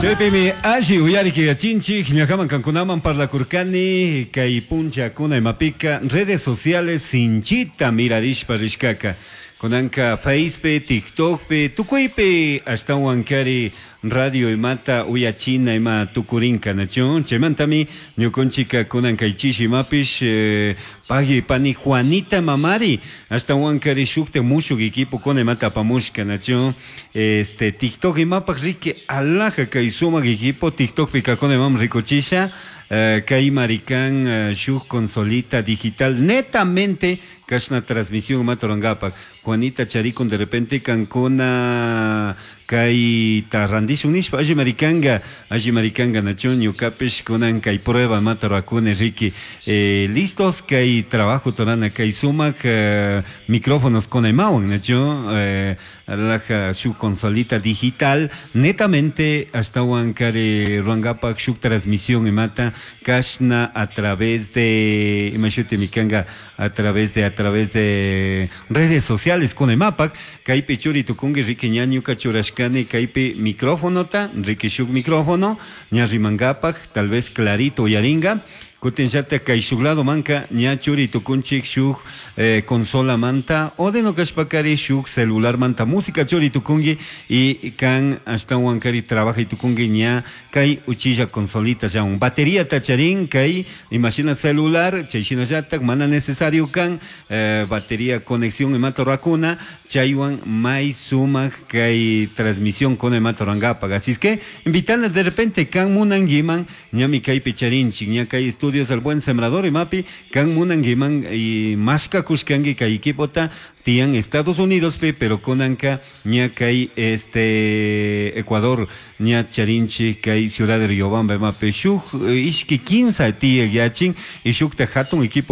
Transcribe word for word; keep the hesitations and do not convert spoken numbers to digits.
Chaypimi alli uyariki yachinchik ñakaman kankunaman parlakurkani kay punchakuna imapika redes sociales sinchita mirarishpa rishkaka kunanka Facepi, TikTokpi, tukuypi ashtawan kari radio imata uyachina ima tukurinka nachu chaymantami ñukunchika kunan kay chishi imapish eh, pagui pani Juanita Mamari ashtawan kari shukta mushuk equipo kuna imata apamushka nachu este TikTok imapaj riki alaja kay sumak equipo TikTokpi kakuna imam rikuchisha eh, kay marikan eh, shuk consolita digital netamente kashna transmisión imata rurankapak Juanita charikun de repente kankuna kay randishun nishpa alli marikanga alli marikanga nachu ñukapish kunan kay prueba imata rurakuni riki eh, listos kay trabajo torana kay sumak eh, micrófonos kuna imawan nachu eh, laja shuk consolita digital netamente ashtawan kari rurankapak shuk transmisión imata kashna a través de imashuti mikanga a través de a través de redes sociales kuna imapak kaypi churi tukunki riki ña ñuka churashkani kaypi microfonota riki shuk micrófono ña rimankapak tal vez clarito uyaringa kutin llatak kay shuk lado manka ña churi tukunchik shuk eh, consola manta o de no kashpakari shuk celular manta música churi tukunki y kan ashtawan kari trabaja tukunki ña kay uchilla consolita ya un batería tacharin kay imagina celular chay shinallatak mana necesario kan eh, batería conexión imata rurakuna chaywan may sumak kay transmisión con imata rurankapak así es que invitarles de repente kan munankiman ñami kaypi charinchik ña kay estudios El Buen Sembrador imapi kan munankiman y mashka kushkanki kay equipota tiyan Estados Unidos pi pero kunanka ña kay este Ecuador ña charinchik kay ciudad de Riobamba imapi shuk ishki kinsa tiyak yachin y shukta hatun equipo